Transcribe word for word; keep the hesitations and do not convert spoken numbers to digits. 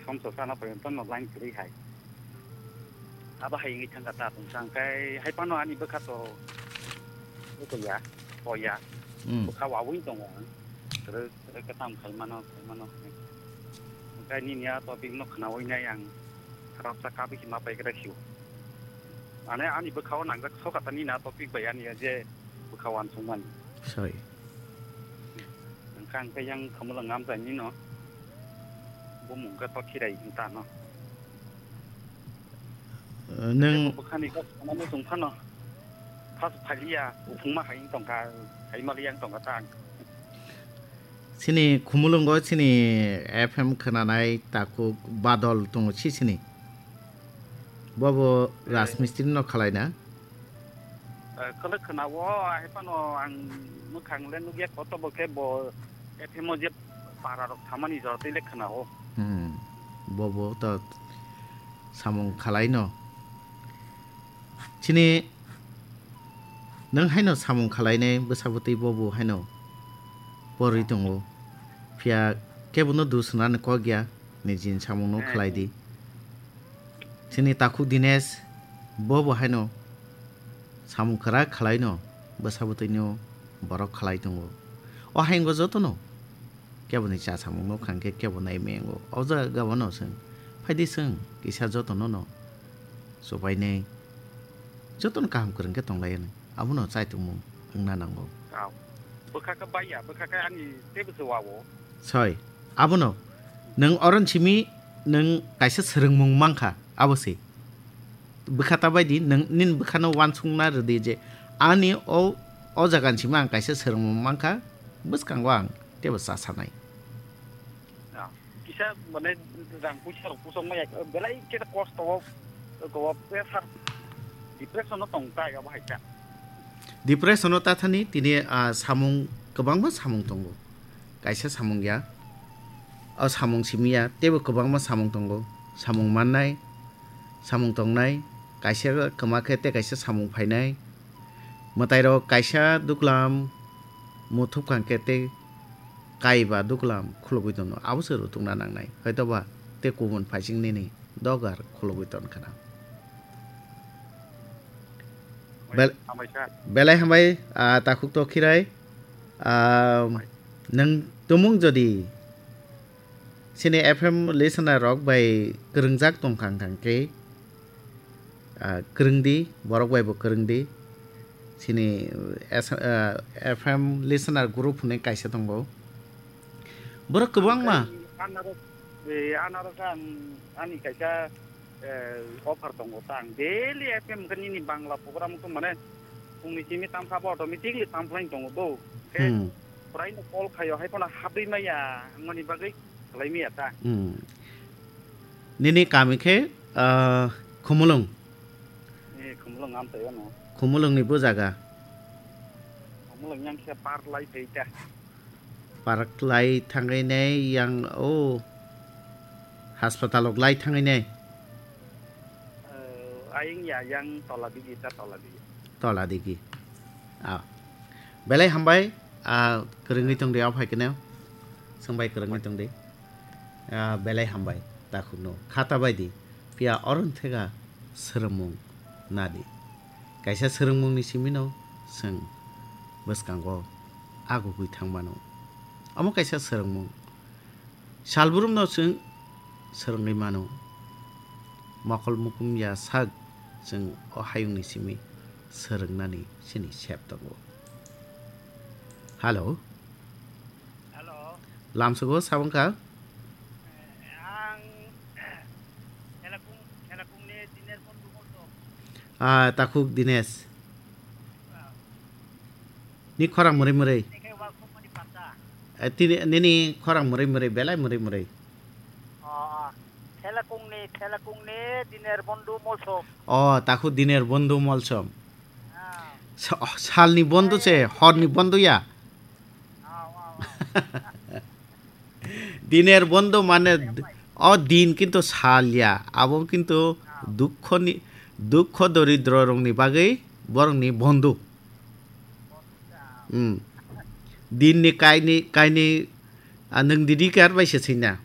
Somsa sana porjonto no line kwrwi hai. Abo hai wngwi thangkha ta tongsa, hwnkhe hai phano ani bwkha to, bwkha ya, o ya, Hmm. Bwkha wawin tongo ang. Kwrwi, kwrwi khe tamo khai mano, khai mano. Hwnkhe nini a topic no khnaui nai ang khoroksa kabwi se ma pai khe sio. Mane ani bwkha o nangjak sokha ta nini a topic bai ani je bwkha wansukmani. Sorry. Hwnkhe ang khe yang Khumulwng amchaini no. Bumung khe to Khirai wng ta no. Nwng Bwkhani kok sanani tong phano. Phas phaliya, uphungma hai wng tongkha, hai maliya wng tongkha ta ang. Chini Khumulwngo chini F M khwnanai takhuk Badol tongo si chini. Bobo Eh. Rajmistri no khalai na? Eh, kwlwk khna o, hai phano ang mwkhang le nukya koto bo khe bo F M o je para rok thamani jora twi le khna o. Hmm. Bobo to samung khalai no. Chini nwng haino samung khalai nai bwsa bwtwi bobo haino porwi tongo. Phiya kebo no dusna ni kok ya. Nijini samung no khlai di. Chini takhuk Dinesh bo bo haino samung kwrak khlai no bwsa bwtwi no borok khlai tongo. O hayungo joto no kebo ni cha samung no khang khe kebo nai mengo. O jaga gabo no chwng phai di chwng kisa joto no no chubai nai joto no kaham kwrwng khe tong lai anw. Abono chaitongmung wngna nango. Aw. Bwkha khe baiya, bwkha khe ani teibo se wa-o. Soi. Abono nwng oron simi nwng kaisa swrwngmung mankha, abo se. Bwkha ta bai di, nwng nini bwkhano wansukna rw di je ani o, o jaga ni simi ang kaisa swrwngmung mankha, bwskango ang teibo cha sanai. Ah, kisa mane rang puisa rok pusok maya, belai khe kosto o, o pressure, depression o tong tai abo hai kha. Depression o ta thani tini, ah, samung kwbangma samung tongo. Kaisa samung ya. O samung simi ya, teibo kwbangma samung tongo. Samung mannai, samung tongnai, kaisa kwma khe tei kaisa samung phainai. Mwtairok kaisa duklam muthupkang khe tei kaiba duklam khulugwi tono, abo se rwtwkna nangnai. Hoitoba tei kubun phaising nini dogar khulugwi ton khna. Bel-, hambai kha. Belai hambai, ah, takhuk to khirai. Ah, nwng tumung jodi Chini F M listener rok bai kwrwngjak tongkha wngkha khe, ah, kwrwng di, borok bai bo kwrwng di. Chini, eh, S-, ah, F M listener group hwnwi kaisa tongo. Borok kwbangma. Anarok, eh, anarok ang, ani kaisa eh, offer tongo ta ang daily F M khe nini Bangla program khe mane phungni simi tamkha bo automatically tamkhlai tongo do. Khe Hmm. Puraino call khaio hai phano habwi maya wngmani bagwi khlai maya ta. Hmm. Nini kami khe, ah, Khumulwng. Eh, Khumulwng amchaio no. Khumulwngni bo jaga. Khumulwng yang khe par lai phai ta. Park lai thangwi nai yang o hospital ok lai thangwi nai. Eh, aying ya yang tola digi ta tola digi. Tola digi. Ah. Belai hambai, ah, kwrwngwi tong di, o phai kene. Swngbai kwrwngwi tong di. Ah, belai hambai, takhukno. Khata bai di. Phiya oron thega swrwngmung nadi. Kaisa swrwngmungni simino chwng bwskango agugwi thang mano. Omo kaisa swrwngmung. Salbrumno chwng swrwngwi mano. Mokol mukum ya sak chwng o hayungni simi swrwngnani chini sep tongo. Hello. Hello. Lamsugo sabwngkha? Ang Khelakung, Khelakungni Diner Bondhu Molsom. Ah, takhuk Dinesh. Ah. Ni khorang mwrwi mwrwi. Tini khe wa khumani pata. Eh, tini, nini khorang mwrwi mwrwi, belai mwrwi mwrwi. Oh, oh. Khelakungni, Khelakungni Diner Bondhu Molsom. Oh, takhuk Diner Bondhu Molsom. Ah. Sa-, oh, salni bondhu se, horni bondhu ya. Diner bondhu mane d-, o din kintu sal ya, abo kintu dukkhoni, dukkho doridro rokni bagwi borokni bondhu. Hmm. Dinni kaini, kaini, ah, nwng didi kar bai se sina.